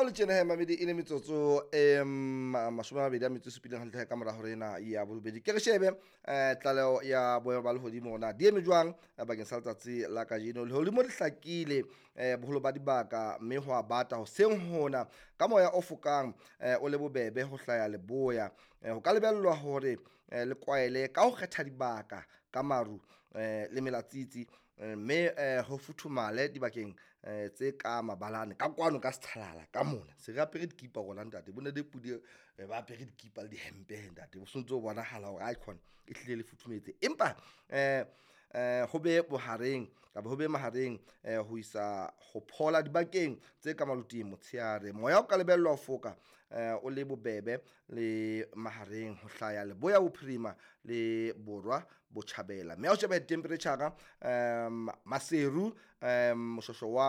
ha o le tjena he mamedi, e le metsotso e 27 hantle ka mora hore ena ya borobedi, ke re shebe tlaleho ya boemo ba lehodimo na di eme jwang bakeng sa letsatsi la kajeno. Lehodimo le hlakile boholo ba dibaka, mme ho a bata hoseng hona ka moya o fokang o le bobebe ho hlaya leboya. Ho ka lebellwa hore le kwaele ka ho kgetha dibaka ka maru le melatsitsi, mme ho futhumale dibakeng tse ka mabalane ka kwano ka sethalala ka mona. Se re apere dikipa rona ntate, bo ntate Pudi ba apere dikipa le dihempe ntate, ho sontso ho bonahala hore aikhona ehlile le futhumetse. Empa ho be bohareng kapa ho be mahareng ho isa ho phola dibakeng tse ka maloting motshehare. Moya o ka lebellwa ho foka o le bobebe le mahareng ho hlaya leboya bophirima le borwa botjhabela. Mme ha o sheba temperature-ra Maseru, Moshweshwe wa